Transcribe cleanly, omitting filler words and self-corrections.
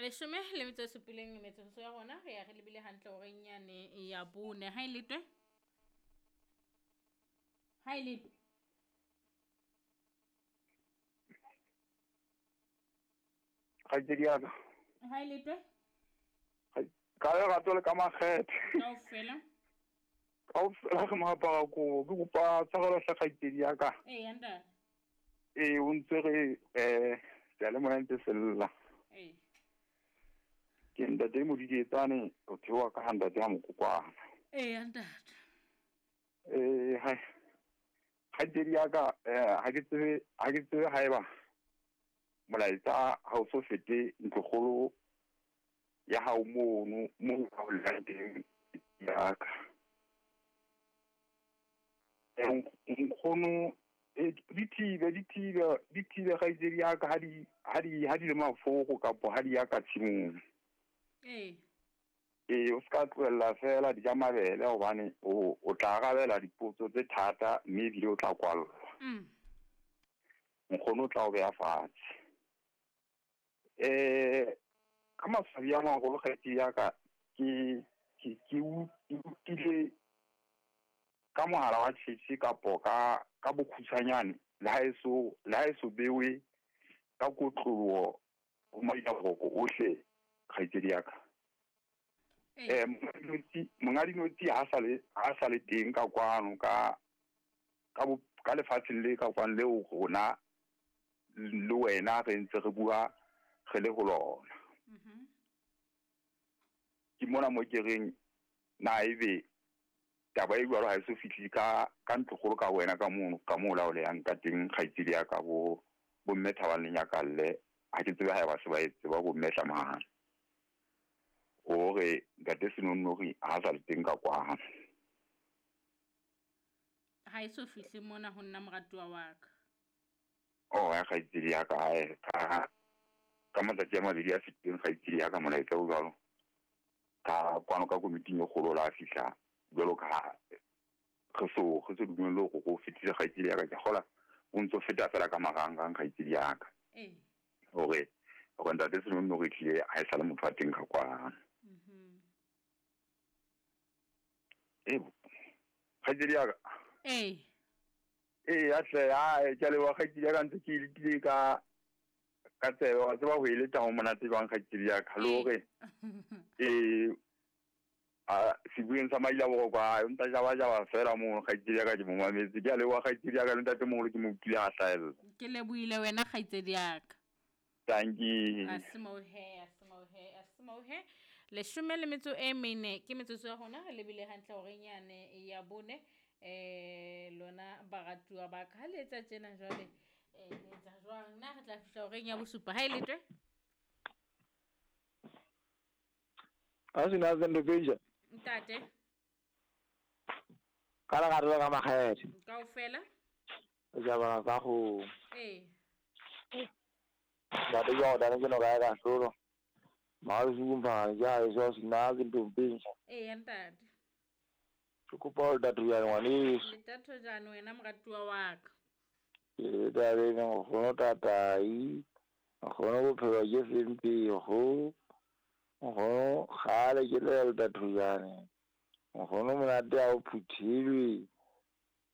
Leshome le metso e supileng metsotso ya rona re ya re lebile hantle horeng yane ya bone. Ha e letwe? Ha e letwe? Kgaitsedi ya ka. Ha e letwe? Ka lerato le ka makgethe. Kaofela. Kaofela re moapara kobo. Ke kopa tshwarelo hle kgaitsedi ya ka. Ee, ntate. Ee, o ntse re seyalemoya ntse se lla. Ee. Ke ntate Modidietsane o theoha ka ha ntate ha Mokokwana. Ee, ntate. Ee, hai. Kgaitsedi ya ka ha ke tsebe, ha ke tsebe haeba molaetsa ha o so fete ntlokgolo ya hao mono moo ba ho llang teng ya ka. Nkgono di thibe, di thibe, di thibe kgaitsedi ya ka ha di, ha di, ha di le mafoko kapo ha di ya ka tshimong. Ee. Ee, o ska tlohella fela di ja mabele hobane o tla arabela dipotso tse thata mme ebile o tla kwallwa. Nkgono o tla o beha fatshe. Ka maswabi a maholo kgaitsedi ya ka ke utlwile ka mohala wa Chiefs kapo ka bokhutshwanyane le ha eso, le ha eso bewe ka kotloloho ho maitaboroko ohle kgaitsedi ya ka. Monga dinotshi ha sa le teng ka kwano ka lefatsheng le ka kwano leo rona le wena re ntse re bua re le ho lona. Ke mona mo ke reng na ebe taba e jwalo ha e so fihle ka ntlokgolo ka wena ka mono ka moo laolehang ka teng kgaitsedi ya ka bo mme Thabang le Nyakalle. Ha ke tsebe haeba se ba e tseba bo mme Tlamahane. Hore ntate Senonnori ha sa le teng ka kwano. Ha e so fihle mona ho nna moratuwa wa ka. Oh, ya kgaitsedi ya ka hae ka matsatsi a mabedi a fetileng kgaitsedi ya ka molaetsa o jwalo. Ka kwano ka komiting e kgolo la fihla jwalo ka ha re so dumelle hore go fetile kgaitsedi ya ka. Ke kgola o ntso feta fela ka marangrang kgaitsedi ya ka. Ee. Hore ntate Senonnori tlile ha e sa le motho wa teng ka kwano. Ee, kgaitsedi ya ka. Ee. Ee, atle, ae, ke a leboha kgaitsedi ya ka ntse ke lekile ka tsebe, wa tseba ho e leta ho monate jwang kgaitsedi ya ka. Le hore sebueng sa Maila Boroko, a o ntsa jaba jaba fela mono kgaitsedi ya ka ke mo mametse. Ke a leboha kgaitsedi ya ka le ntate moholo ke mo utlwile a hlahella. Ke lebohile wena kgaitsedi ya ka. Tanki. Asimohe, asimohe, asimohe. Leshome le metso e mene ke metsotso ya rona re lebile hantle horeng yane ya bone. Lona baratuwa ba ka ha le etsa tjena jwale, le etsa jwang? Na re tla fihla horeng ya bosupa ha e letwe? Ha se na sendo penja. Ntate. Ka lerato ka makgethe. Kaofela. Jaba ka go. Ee. Ntate jwa o ke no ka ka hlolo. Marusu mpa ja e so sina ke ntompenja. Ee, ntate. Ke kopa o ntate ya ngwaneso. Ntate jane wena moratuwa wa ka. Ke tabeng nkgono tatai, nkgono bophelo ke sempego, nkgono kgale ke le ntate jane. Nkgono monate ha o phuthilwe.